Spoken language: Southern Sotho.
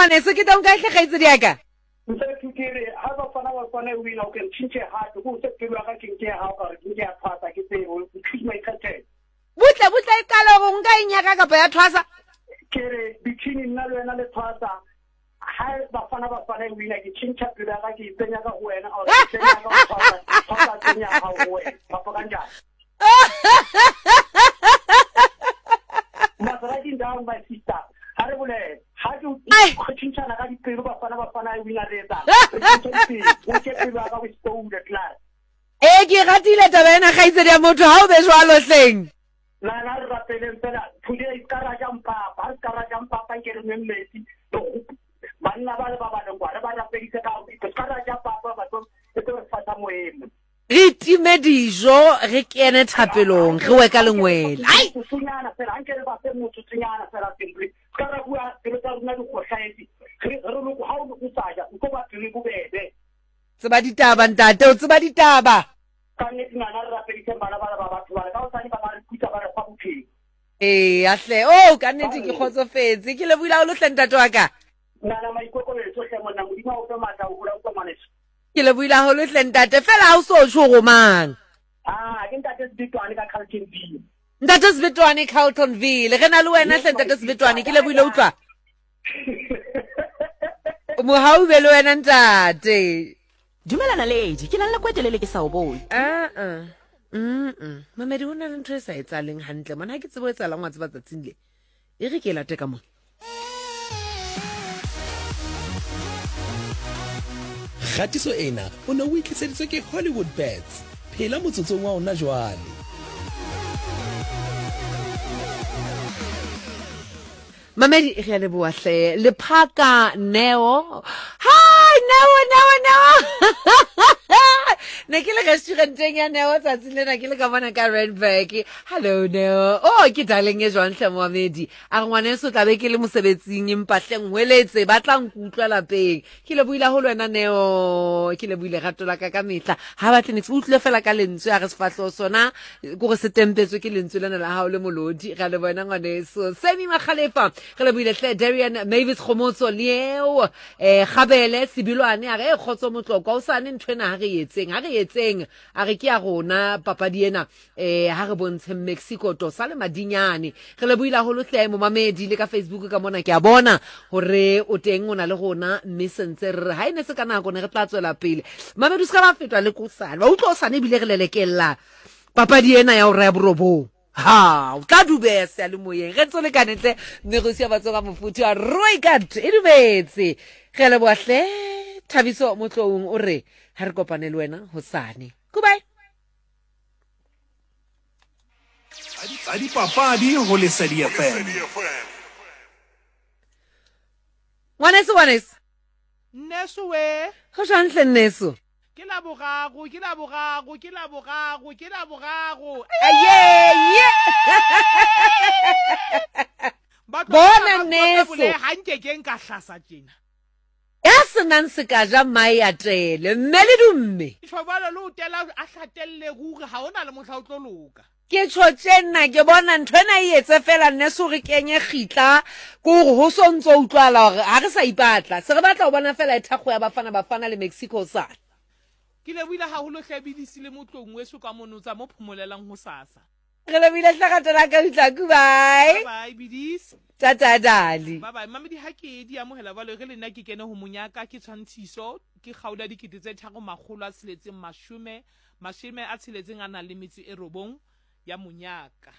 ngwaneso, ke tong kae hle kgaitsedi ya ka? Mfethu ke re ha Bafana Bafana e wina o ke ntšhintšhe gape ko se pelo ya ka ke nke ya gago ka gore ke nke ya thwasa ke tsebo o choose my captain. Butle butle e qala gore nka e nyaka kapa ya thwasa. Ke re between nna le wena le thwasa ha Bafana Bafana e wina ke tšhintšha pelo ya ka ke itsenya ka go wena or ke tsenya ka go thwasa thwasa tsenya ga go wena kapa kanjani. Maserati down my sister. Ha re bolele. Ha ke re tšhintšhana ka dipelo Bafana Bafana e wina re etsang. Re tšhintšha dipelo. O ke pelo ya ka o stole klaar. Ee, ke ratile taba ena kgaitsedi ya motho ha o be jwalo hleng. Nana re rapeleng fela today se ka ra ja mpapa. Ha re se ka ra ja mpapa nke re nweng metsi. Banna ba le ba ba leng kwa re ba rapedise ka se ka ra ja papa batho e tlo re fasa moemo. Re time dijo, re kene thapelong, re we ka lengwele. Ai! Motsotsonyana fela, anke re ba fe motsotsonyana fela simply. Se ka ra bua pelo tsa rona di kgohlahetse. Re re loko ha o o sa ja, o tlo ba pelo e bobebe. Tseba ditaba ntate, o tseba ditaba. Ka nnete nana re rapediseng bana bana ba batho bana. Ka hosane ba ka re putsa ba re fa bophelo. Ee, hle. Oh, ka nnete ke kgotsofetse. Ke lebohile haholo hle ntate wa ka. Nana maikokobetso hle monna, Modimo a o fe matla ho hola utlwa ngwaneso. Ke lebohile haholo hle ntate, fela ha o so tjho go mang. Ah, ke ntate Sebetwane ka Carltonville. Ntate Sebetwane Carltonville. Re na le wena hle ntate Sebetwane, ke lebohile utlwa. Mohau be le wena ntate. Dumela Naledi, ke na le nako e telele ke sa o bone. Ah ah. Mm. Mamedi ho na le ntho e sa etsahaleng hantle mona, ha ke tsebe ho etsahalang wa tseba tsatsing le. E re ke e late ka mona. Kgatiso ena o ne o e tliseditswe ke Hollywood Bets. Phela motsotsong wa ona jwale. Mamedi re a leboa hle. Lephaka Neo. Hi Neo Neo Neo. Ne ke le restauranteng ya Neo tsatsing lena ke le ka mona ka Randburg. Hello Neo. Oh ke darling e jwang hle moamedi. A re ngwaneso tla be ke le mosebetsing empa hle nhweletse ba tla nkutlwa lapeng. Ke lebohile haholo wena Neo. Ke lebohile rato la ka ka mehla. Ha batle niks o utlwile fela ka lentswe a re sefahleho sona kore se tempetswe ke lentswe lena la hao le molodi. Ra leboha wena ngwaneso. Semi Makgalefa re lebohile hle. Darian Mavis Kgomotso Leo eh Gabele Sebilwane a re e kgotso Motlokwa o sane ntho ena ha re etseng ha re etseng a re ke ya rona papadi ena eh ha re bontsheng Mexico tosa le madinyane. Re lebohile haholo hle momamedi le ka Facebook ka mona ke a bona hore o teng o na le rona mme sentse re re ha e ne se ka nako ne re tla tswela pele. Mamedi o se ka ba fetwa le kosane. Wa utlwa osane ebile re lelekella papadi ena ya hora ya borobong. Ha o tla dubeha seyalemoyeng re ntse lekane tle mme go sia batsoga mofuthu a Rooikat e dumetse. Re a leboha hle Thabiso Motloung o re ha re kopane le wena hosane. Goodbye. Tsa dipapadi ho Lesedi FM. Ngwaneso, ngwaneso. Nneso we. Go jwang hle nneso? Ke la boraro, ke la boraro, ke la boraro, ke la boraro. Aye, ye. Bona nneso. Ga nke ke nka hlasa tjena. Ya senang sekaja mmae a tele, mme le dumme. Tjho bjalo le o tela a hlatelle ruri ga o na le mohla o tlo loka. Ke tjho tje nna ke bona ntho ena e etse fela nneso re kenye kgitla ke gore ho so ntso utlwala gore ha re sa ipatla se re batla ho bona fela e thakgo ya Bafana Bafana le Mexico hosane. Ke lebohile haholo hle Bidisi le Motloung weso ka mono tsa mo phomolelang hosasa. Re lebohile hle rato la ka Utlaku bye. Bye bye Bidisi. Tata Dali. Bye bye Mamedi ha ke di amohela jwalo e re le nna ke kene ho monyaka ke tshwantshiso ke kgaola 3669 a nang le metso e robong ya monyaka.